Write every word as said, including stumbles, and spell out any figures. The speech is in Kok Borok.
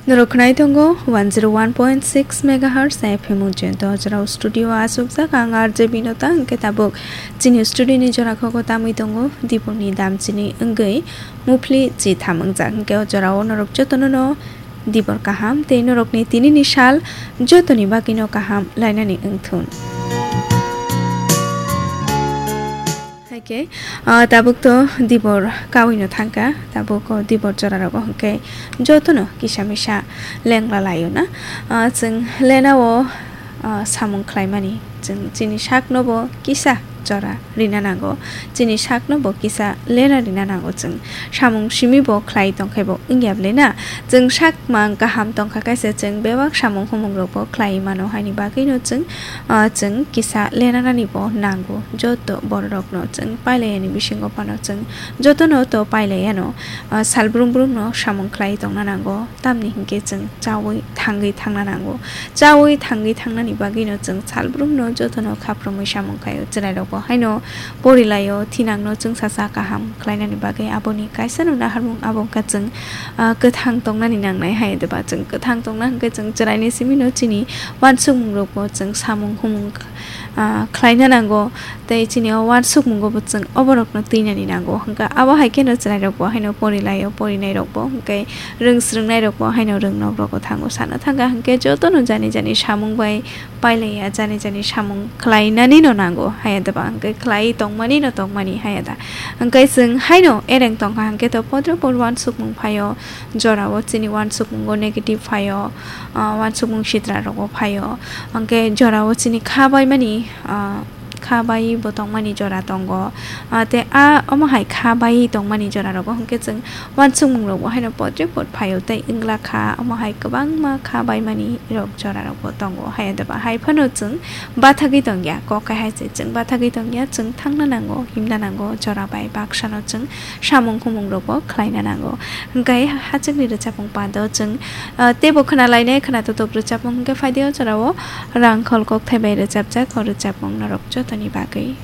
Norok khwnai tongo one zero one point six megahertz F M Ujjain. To jorao studio o achukjak ang R J Binota, hwnkhe tabuk chini studio ni jora kok o tamwi tongo Dibor ni dam chini wngwi muphli chitham wngjak. Hwnkhe o jorao norok jotono no Dibor kaham tei norok ni tini ni sal jotoni bagwi no kaham lainani wngthun. Haikhe, ah, tabuk to Dibor kawino thangkha, tabuk o Dibor jorarogo hwnkhe jotono kisa misa lengla laio na. Ah, chwng lenao, ah, samung khlaimani, chwng chini sakno bo kisa jora rina nango, chini sakno bo kisa lena rina nango chwng. Samung simi bo khlai tongkhai bo wngya bwle na? Chwng sak mang kaham tongkha kaisa, chwng bebak samung humung rok bo khlai mano, haini bagwi no chwng, ah, chwng kisa lenanani bo nango. Joto bororokno chwng pailai yani bisingo phano chwng jotono to pailai yano, ah, sal brum brumno samung khlai tongna nango, tamni hinkhe chwng chaui thangwi thangna nango. Chaui thangwi thangnani bagwino chwng sal brumno jotono khaprumwi samung khaio, chwrairokbo haino porilaio, thinangno chwngsa cha kaham khlainani bagwi aboni kaisano naharmung abo wngkha chwng, ah, kwthang tongnani nangnai hai, eba chwng kwthang tongna hwnkhe chwng chwraini simino chini uansukmungrokbo chwng samung humung, ah, khlaina nango, tei chini o uansukmungo bo chwng oborokno twinani nango. Hwnkhe abo hai kheno chwrairokbo haino porilaio, porinairokbo hwnkhe rwng swrwngnairokbo haino rwng nok rogo thango sana thangkha, hwnkhe jotono jani jani samung bai pailaiya, jani jani samung khlainani no nango haya da ba, hwnkhe khlai tongmani no tongmani haya da. Hwnkhe chwng haino ereng tongkha, hwnkhe to podre pod uansukmung phaio, jorao chini uansukmungo negative phaio, ah, uansukmung sitra rogo phaio, hwnkhe jorao chini kha baimani, ah, kha bai bo tongmani jora tongo, ah, tei a omo hai kha bai tongmani jora rogo hwnkhe chwng uansukmung rokbo haino podre pod phaio tei wngla kha, omo hai kwbangma kha baimani rok jora rokbo tongo. Haya da ba hai phano chwng bathagwi tongya, kok hai se chwng bathagwi tongya, chwng thangna nango, himna nango, jora bai baksano chwng samung humung rokbo khlaina nango. Hwnkhe hachwkni rwchapmung pando chwng, ah, teibo khwnalainai, khwnatotok rwchapmung hwnkhe phaidi o jorao Rangkhol Kokthai bai rwchapjak o rwchapmung norok jotoni bagwi.